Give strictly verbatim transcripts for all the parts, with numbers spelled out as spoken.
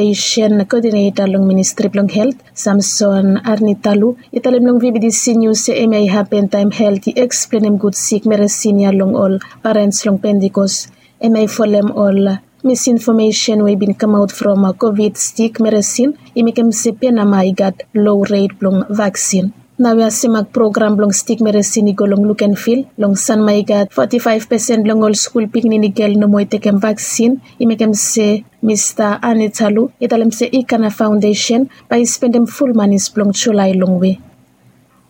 Foundation Coordinator long Ministri blong Helt, Samson Arnitalu, i talem long V B T C News se hemia i hapen taem Helt i eksplenem gud sik meresin ya long ol parens long Pentikos. Hemia i folem ol misinfomesen we i bin kamaot from COVID stik meresin i mekem se Penama i gat low ret blong vaksin. Naoia CEMAC program blong stik meresin i go long Lukenvil. Long Sanma i gat foti faef pesen blong ol skul pikinini gel nomo i tekem vaksin. I mekem se Mista Anitalu i talem se Ikana Foundation bae i spendem ful manis blong Julae longwe.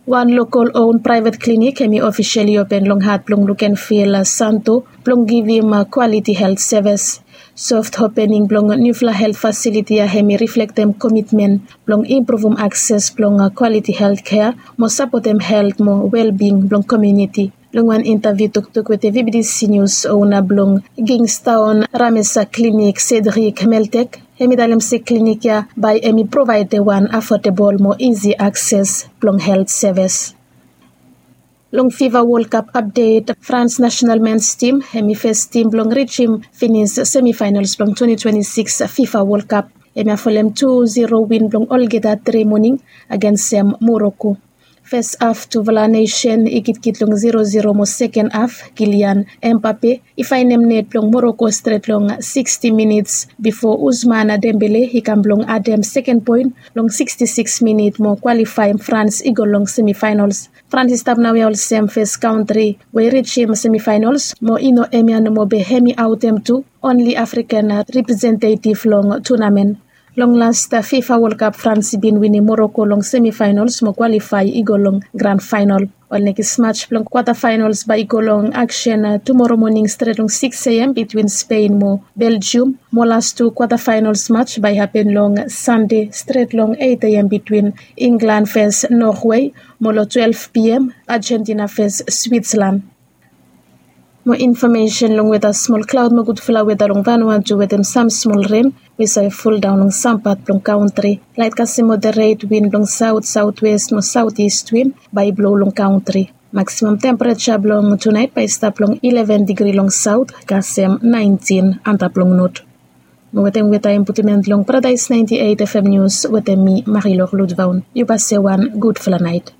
Wan lokol own praevet klinik hemi ofisali open long hat blong Lukenvil Santo blong givim kwaliti helt sevis. Soft opening blong niufala helt fasiliti ya hemi riflektem komitmen blong impruvum akses blong kwaliti helt kea mo sapotem helt mo welbing blong komuniti. Long wan intaviu toktok wetem V B T C News, ona blong Kingstown Ramesa Klinik, Cedric Meltek, hemi talem se klinik ya bae hemi provaedem wan afodabol mo isi akses blong helt sevis. Long FIFA World Cup apdet, France nasenal mens tim hemi fes tim blong rijim finis semifaenals blong twenty twenty-six FIFA World Cup. Hemia folem tu zero win blong olgeta tre moning agensem Moroko. Fes haf tufala nesen i kitkit long zero zero mo seken haf Kylian Mbappe i faenem net blong Moroko stret long sixty minits bifo Ousmane Dembele i kam blong adem seken poen long sixty-six minit mo kwalifaem France i go long semifaenals. France i stap naoia olsem fes kantri we i rijim semifaenals mo i no hemia nomo be hemi aotem tu onli African representetiv long tunamen. Long las FIFA World Cup France i bin winim Moroko long semifaenals mo kwalifae i go long gran faenal. Ol nekis maj blong kwata faenals bae i go long aksen tumoro moning stret long sikis A M bitwin Spen mo Beljium. Mo las tu kwata faenals maj bae i hapen long Sande stret long eit A M bitwin Inglan fes Norwe mo long twelef P M Ajentina fes Switslan. Mo infomesen long weta, smol klaod mo gudfala weta long Vanuatu wetem sam smol ren we save foldaon long sam pat blong kantri. Laet kasem moderet win blong saot, saotwes mo saotist win bae i blou long kantri. Maksimam tempereja blong tunaet bae i stap long ileven digri long saot kasem naentin antap long not. Mo wetem weta imputimen long Paradaes naenti eit FM Nius wetem mi Marilor Ludvaon. Yu bae se wan gudfala naet.